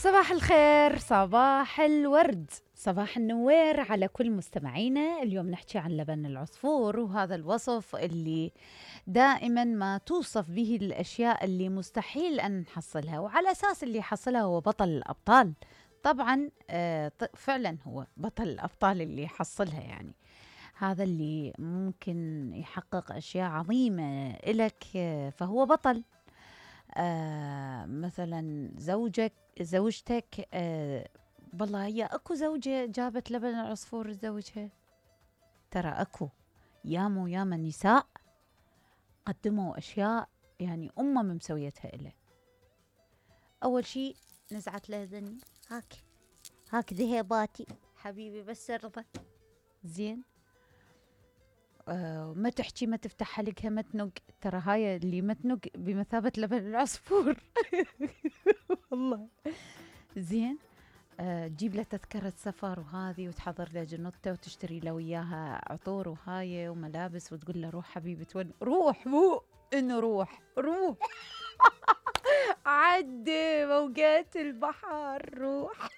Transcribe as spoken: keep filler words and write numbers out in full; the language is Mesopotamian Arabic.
صباح الخير، صباح الورد، صباح النوير على كل مستمعينا. اليوم نحكي عن لبن العصفور، وهذا الوصف اللي دائما ما توصف به الأشياء اللي مستحيل أن نحصلها، وعلى أساس اللي يحصلها هو بطل الأبطال. طبعا آه فعلا هو بطل الأبطال اللي يحصلها، يعني هذا اللي ممكن يحقق أشياء عظيمة إلك، آه فهو بطل. آه مثلا زوجك زوجتك آه والله هي اكو زوجة جابت لبن العصفور لزوجها، ترى اكو ياما ياما نساء قدموا اشياء يعني امم مسويتها إله. اول شيء نزعت له ذني، هاك هاك ذهباتي حبيبي بس ارضى زين. آه ما تحكي، ما تفتح حلقها، ما تنق، ترى هاي اللي ما تنق بمثابة لبن العصفور. والله زين. آه تجيب له تذكرة سفر وهذه، وتحضر له جنطته، وتشتري له وياها عطور وهاي وملابس، وتقول له روح حبيبي تون روح، مو انه روح روح. عدي موجات البحر روح.